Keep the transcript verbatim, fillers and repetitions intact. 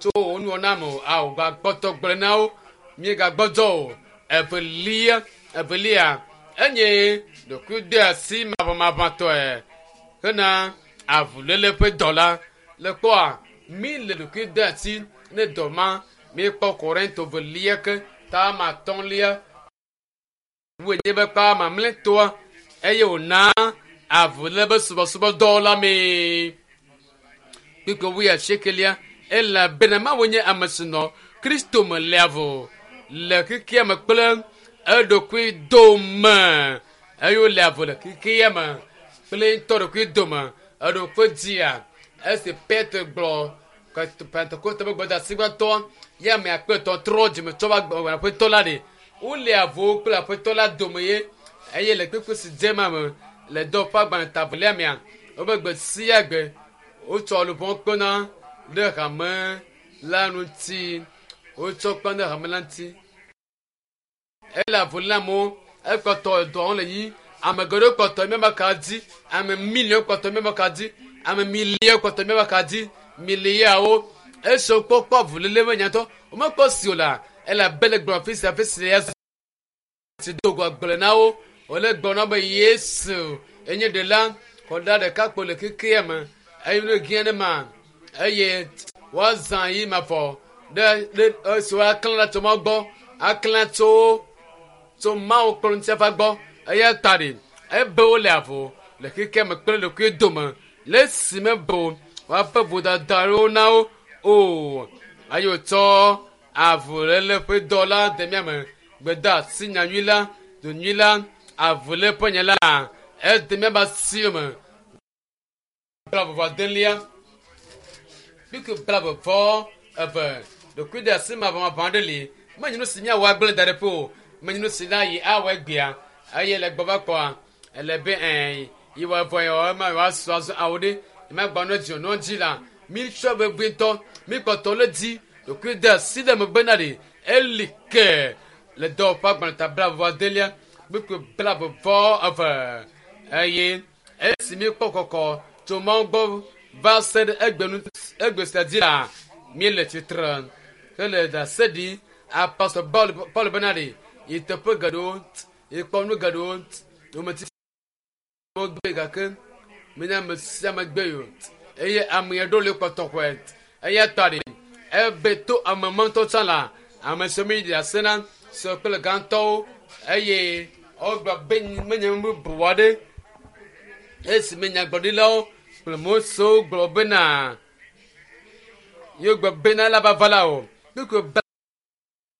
Tso wò nuwɔna me o. Ao gakpɔtɔ gblɔe na wo. Míegagbɔdzɔ o. Evelia, evelia enye ɖokuideasi maʋamaʋãtɔe hena avuléle ƒe dɔ la. Le kpɔa, mí le ɖokuideasi ne dɔ ma. Míekpɔ Korinto velia ke ta ma atɔ̃lia wònye be kpa mamlɛtɔa eye wòna avuléle be subɔsubɔdɔ la mee. Kpukpui wuiasiekelia elabena Mawu nye ame si nɔ Kristo me le avu le xexea me kple eɖokui dome eye wole avu le xexea me kple ŋutɔ ɖokui dome eɖokui dzia esi Petro gblɔ Pentekoste ƒe gbedeasi gbãtɔ ye ame akpe etɔ̃ trɔ dzime tsɔ va gbɔ aƒetɔ la ɖe wole avuwo kple aƒetɔ la dome ye eye le kpekpe si dze ma me le dɔ ƒe agbalẽ tavelia mea wobe gbe sia gbe wotsɔ luʋɔ kpena ɖe hame la ŋuti wotsɔ kpena ɖe hame la ŋuti ele avu lé amewo ekpɔtɔ dɔwɔm le yi ame geɖewo kpɔtɔ míabe ka dzi ame miliɔn kpɔtɔ míabe ka dzi ame miliɔn kpɔtɔ míabe ka dzi miliyawo esi wokpɔkpɔ avuléle me nyatɔ womekpɔ si o la elabe le gblɔ afi sia afi si ya si do go agblẽ na wo wòle gblɔ na wo be Yesu enye ɖela xɔɖa ɖeka kpo le xexea me eye nu gã ɖe ma eye woazã yi mavɔ ɖe ɖe esi woaklã ɖe tso Mawu gbɔ aklã tso tso Mawu kple ŋutifafa gbɔ eya ta ɖi ebe wole avu le xexea me kple ɖokui dome le esime bo woaƒe vodadawo na wo o eye wòtsɔ avuléle ƒe dɔ la de mía me gbedeasi nyanyui la donyui la avuléle ƒe nya la ede míaƒe asiwo me blaeve adelia kpukpui blaeve vɔ eve ɖokuideasi maʋamaʋã aɖe li menye nu si míawɔ agblẽ da ɖe ƒe o menye nu si la yi awɔ egbea eye le gbɔ va kpɔa ele be ɛɛ yi wɔ evɔ yɔ ema yewoasɔ azɔ awo ɖe ema gbɔ ne dzi nɔ dzi la mítsɔ vevie ŋutɔ míkpɔtɔ le dzi ɖokuideasi ɖe megbe na ɖe eli ke le dɔwɔƒe agbalẽ ta blaeve vɔ adelia kpukpui blaeve vɔ eve eye esi míekpɔ kɔkɔ tso Mawu gbɔ va se ɖe egbe nu egbe sia dzi la míele tsitre hele ɖase ɖi apostol Paul Paul bena ɖe yi teƒe geɖewo yi kpɔ nu geɖewo yometiti gbe gake menye ame sia ame gbe o eye ame aɖewo le kpɔtɔ xɔe eya ta ɖe ebe to ame mɔtɔ tsã la ame siwo mi ɖe ase na sɔ kple gãtɔwo eye wogblɔ be menye nu bubu aɖe esi me nyagblɔɖilawo kple Mosewo gblɔ bena yewo gblɔ bena la va va la o kpukpui